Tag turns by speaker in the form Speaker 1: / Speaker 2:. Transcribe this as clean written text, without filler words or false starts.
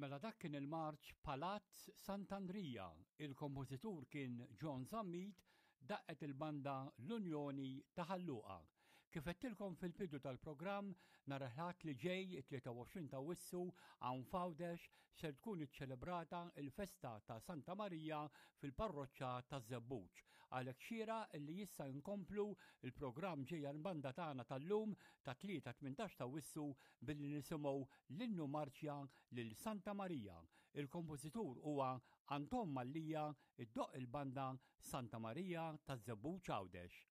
Speaker 1: Mela dak kien il-marċ Palazz Sant'Andrija, il-kompożitur kien John Zammit, daqqet il-banda L-Unjoni ta' Ħal Luqa. Kif għedtilkom fil-bidu tal-programm, nhar il-Ħadd li ġej, it-23 ta' Awwissu, hawn f'Għawdex ser tkun iċċelebrata l-festa ta' Santa Marija fil-parroċċa taż-Żebbuġ. Għalhekk xieraq li issa nkomplu l-programm ġejja l-banda tagħna tal-lum tat-Tlieta 18 ta' Awwissu billi nisimgħu l-innu marċja lil Santa Marija. Il-kompożitur huwa Anton Mallia, iddoqq il-banda Santa Marija taż-Żebbuġ Għawdex.